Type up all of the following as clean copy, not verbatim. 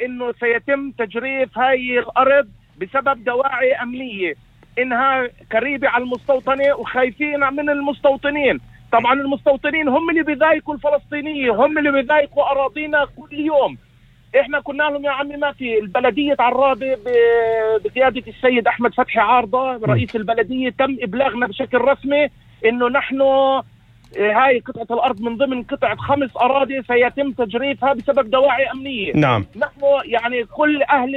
انه سيتم تجريف هاي الارض بسبب دواعي امنية، انها قريبة على المستوطنة وخايفين من المستوطنين. طبعا المستوطنين هم اللي بيضايقوا الفلسطينيين، هم اللي بيضايقوا اراضينا كل يوم. احنا كنا لهم يا عمي ما في البلدية عرابة بقيادة السيد احمد فتحي عارضة رئيس البلدية، تم ابلاغنا بشكل رسمي انه نحن هاي قطعة الارض من ضمن قطعة 5 اراضي سيتم تجريفها بسبب دواعي امنية. نعم. نحن يعني كل اهل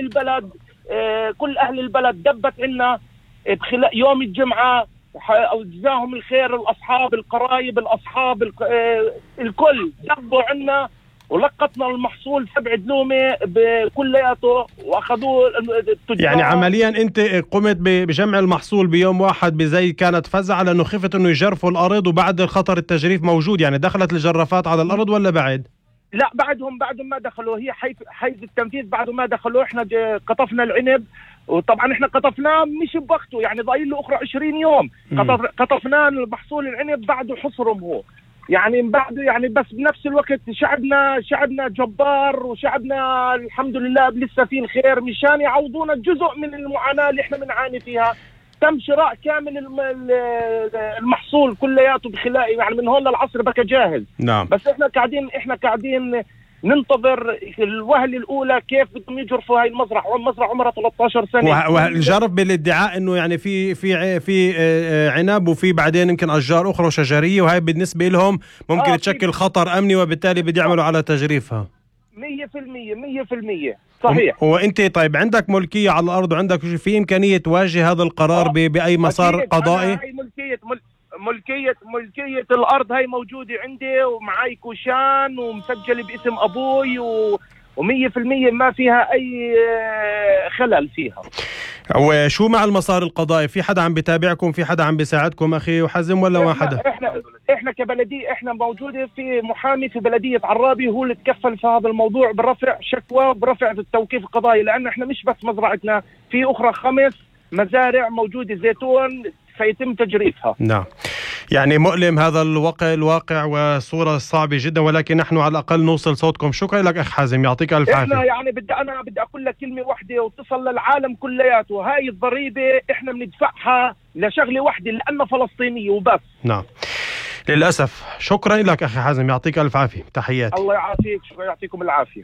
البلد دبت عنا يوم الجمعة، او جزاهم الخير الاصحاب القرايب الاصحاب الكل دبوا عنا ولقطنا المحصول 7 دلومة بكلياته واخذوه التجار. يعني عمليا انت قمت بجمع المحصول بيوم واحد بزي كانت فزعة لانه خفت انه يجرفوا الارض، وبعد خطر التجريف موجود. يعني دخلت الجرافات على الارض ولا بعد؟ لا بعدهم ما دخلوا، هي حيز التنفيذ بعد ما دخلوا. احنا قطفنا العنب، وطبعا احنا قطفناه مش بوقته، يعني ضايل له اخرى 20 يوم. قطفناه المحصول العنب بعده حصرهم هو، يعني بعده يعني. بس بنفس الوقت شعبنا جبار، وشعبنا الحمد لله لسه فيه الخير، مشان يعوضونا جزء من المعاناة اللي احنا بنعاني فيها. تم شراء كامل المحصول كلياته بخلال يعني من هون للعصر بقى جاهز. نعم. بس احنا قاعدين ننتظر الوهلة الأولى كيف بدهم يجرفوا هاي المزرعة عمرها 13 سنة. والجرف بالادعاء انه يعني في عنب، وفي بعدين يمكن اشجار اخرى شجرية، وهي بالنسبة لهم ممكن تشكل خطر امني، وبالتالي بدي يعملوا على تجريفها. 100% صحيح. وانت طيب عندك ملكية على الارض، وعندك في امكانية تواجه هذا القرار باي مسار قضائي؟ هاي ملكية الارض هاي موجودة عندي، ومعاي كوشان ومسجل باسم ابوي، و100% ما فيها اي خلل فيها. وشو مع المسار القضائي؟ في حدا عم بيتابعكم؟ في حدا عم بيساعدكم اخي وحزم ولا ما حدا؟ احنا كبلدية احنا موجودة في محامي في بلدية عرابي، هو اللي تكفل في هذا الموضوع برفع شكوى برفع التوقيف القضائي، لان احنا مش بس مزرعتنا، في اخرى 5 مزارع موجودة زيتون سيتم تجريفها. نعم. يعني مؤلم هذا الواقع وصورة صعبة جدا، ولكن نحن على الأقل نوصل صوتكم. شكرا لك أخ حازم، يعطيك ألف عافية. احنا يعني بدي أقول لك كلمة واحدة وتصل للعالم كلياته، هاي الضريبة احنا بندفعها لشغلة واحدة، لأنها فلسطينية وبس. نعم للأسف. شكرا لك أخي حازم، يعطيك ألف عافية، تحياتي. الله يعافيك، شكرا، يعطيكم العافية.